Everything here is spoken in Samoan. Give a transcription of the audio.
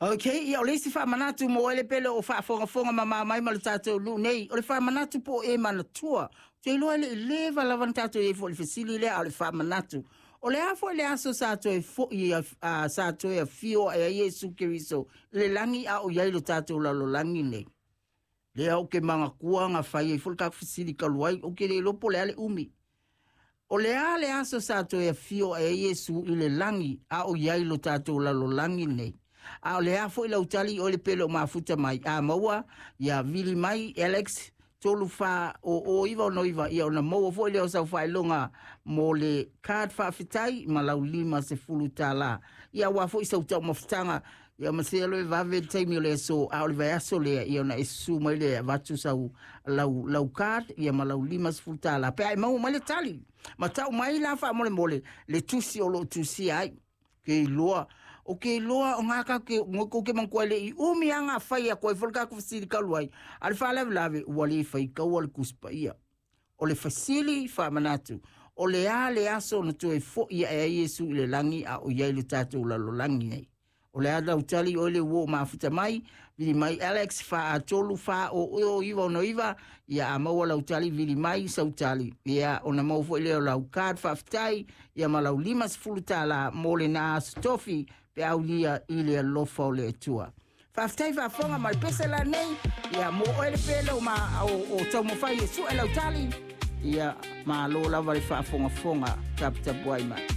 Ok, ia o le isi faamanatu mo oe le pele o faafogafoga mamao mai ma le tatou nuu nei, o le faamanatu po o e manatua. Ou te iloa e le i leva lava ona tatou i ai foi i le fesili lea, a o le faamanatu. O le a foi le aso sa toe foi, sa toe afio ae ai Iesu Keriso i le lagi a o i ai lo tatou lalolagi nei? Lea ou te manatua na fai ai foi le tatou fesili talu ai, ou te le iloa po o le a le umi. O le a le aso sa toe afio ae ai Iesu i le lagi a o i ai lo tatou lalolagi nei? A o le a foi lau tali oe le pele o mafuta mai? A maua, ia vili mai Alex 3400 969, ia ona maua foi lea o sau faailoga mo le card faafetai ma lau $50. Ia aua foi sau taumafataga, ia ma se alo e vave le taimi o le aso, a o le vaiaso lea, ia ona e susu mai lea e avatu sau lau card ia ma lau $50. Pe a e maua mai le tali, ma tau mai la faamolemole le tusi o lo o tusia ai. Ke iloa, o ke iloa o ngā ka ke, ngoi kou ke manatua le i umi a ngā whai a koe fo le kākou fesili talu ai. A le faalavelave, ua le faitaua le Tusi Paia. O le fesili faamanatu, o le a le aso na toe foi ae ai Iesu i le lagi a o i ai le tatou lalolagi nei? O le a lau tali oe le ua o mafuta mai, vili mai Alex 4 3 4 o o 9 6 9, ia a maua lau tali vili mai sau tali. Ia ona maua foi lea o lau card faafetai, ia ma lau $50 mo lena aso tofi pe aulia i le alofa o le Atua. Faafetai faafofoga ma le pese la nei, ia mo oe le pele o, ma, o, o taumafai e sue lau tali, ia malo lava le faafogafoga taputapuai mai.